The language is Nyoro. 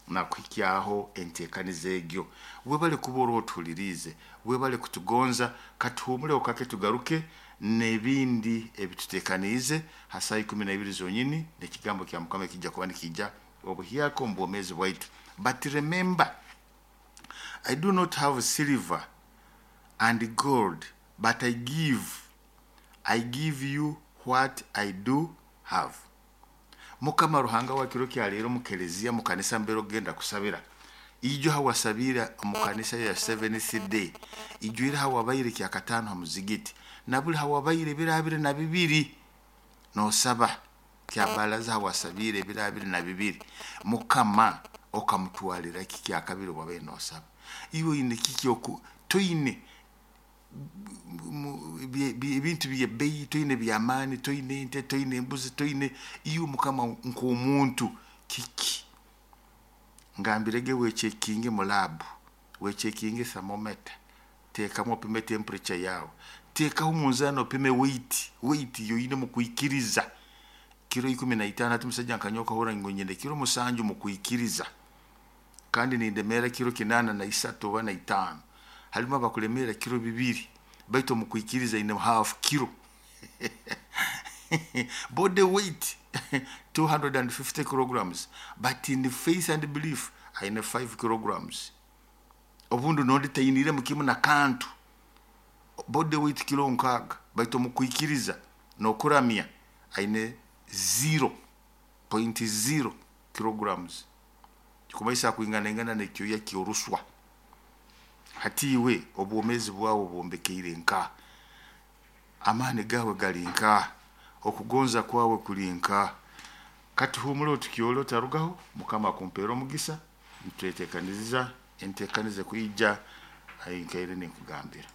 Nakuhikyaho entekaniza egyo. Webale kuba ori otuhuliriize, webale kutugonza. Katuhumuleho kake, tugaruke n'ebindi ebitutekaniize ha saaha 12 zonyini, n'ekigambo kya Mukama ekijja kuba nikijja obuhyaka omu bwomeezi bwaitu. But remember, I do not have silver and gold, but I give you what I do have. Mukama Ruhanga wa kiro kya leero, mu kereziya, mu kanisa mbere ogenda kusabira, ijo hawasabira mu kanisa ya Seventh Day, ijwire hawabaire kyakataano ha muzigiti, na buli hawabaire ebiro 22 nosaba kyabalaza, hawasabiire ebiro 22, Mukama okamutwalira ki kyakabiri wabaire nosaba? Iwe oine kiki oku toine ebintu byebbeyi, toine byamaani, toine ente, toine embuzi, toine. Iwe Mukama nk'omuntu kiki? Ngambirege, wecheckinge mu lab, wecheckinge thermometer, teekamu opime temperature yawe, teekaho omunzaani opime weight yoine mu kwikiriza, kiro 15. Hati musajja nkanyowe okahurra ngu nyine kiro 7 mu kwikiriza, kandi nindemeera kiro 83 oba na 5. Halimu abakulemeera kiro 2, baitu omu kwikiriza ine half kilo. Body weight 250 kilograms, but in faith and belief aine 5 kilograms. Obundi nondi tainiremu kimu na kantu, body weight kilo 60, baitu omu kwikiriza n'okuramya aine 0.0 kilograms, kikumaisa kwinganaingana n'ekyoya ky'oruswa. Hati iwe obwomeezi bwawe bwombekeire nka amaani gawe gali nka okugonza kwawe kuli nka. Katuhumule otukyole, otarugaho. Mukama akumpeera omugisa. Nitwetekaniriza entekaniza kwija nkaire ninkugambira.